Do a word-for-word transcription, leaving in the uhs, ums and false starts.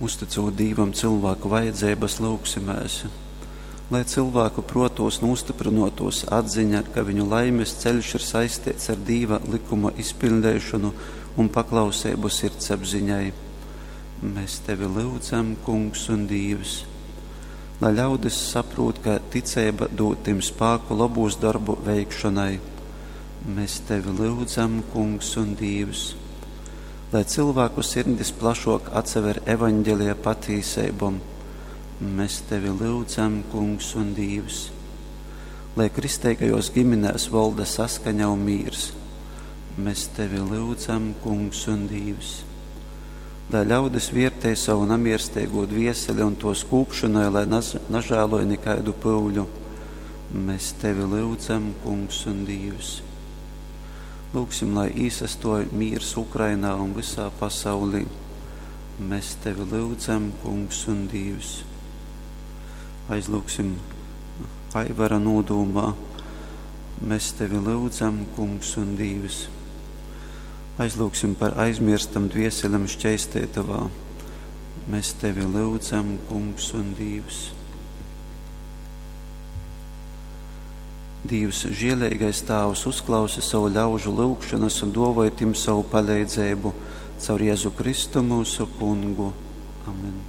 Uztycūt Dīvam cylvāku vajadzeibas, lyugsimēs, lai cylvāku pruotūs nūstyprynuotūs atziņa, ka viņu laimes ceļš ir saisteits ar Dīva lykuma izpiļdeišonu un paklauseibu sirdsapziņai. Mēs tevi lyudzam, Kungs un Dīvs. Lai ļaudis saprūt, ka ticeiba dūd tim spāku lobūs dorbu veikšonai. Mēs tevi lyudzam, Kungs un Dīvs. Lai cylvāku sirdis plašuok atsaver evaņgelija patīseibom. Mēs tevi lyudzam, Kungs un Dīvs. Lai kristeigajos giminēs volda saskaņa un mīrs. Mēs tevi lyudzam, Kungs un Dīvs. Lai ļaudis viertej savu namiersteigū dvieseli un tuos kūpšonai, lai naz, nažāloj nikaidu pyuļu. Mēs tevi lyudzam, Kungs un Dīvs. Lūgsim, lai īsastuoj mīrs Ukrainā un vysā pasaulī. Mēs tevi lyudzam, Kungs un Dīvs. Aizlūgsim Aivara nūdūmā. Mēs tevi lyudzam, Kungs un Dīvs. Aizlūgsim par aizmirstam dvieselem šķeisteitovā. Mēs tevi lyudzam, Kungs un Dīvs. Dīvs, žieleigais Tāvs, uzklausi savu ļaužu lyugšonas un duovoj tim savu paleidzeibu caur Jezu Kristu myusu Kungu. Amen.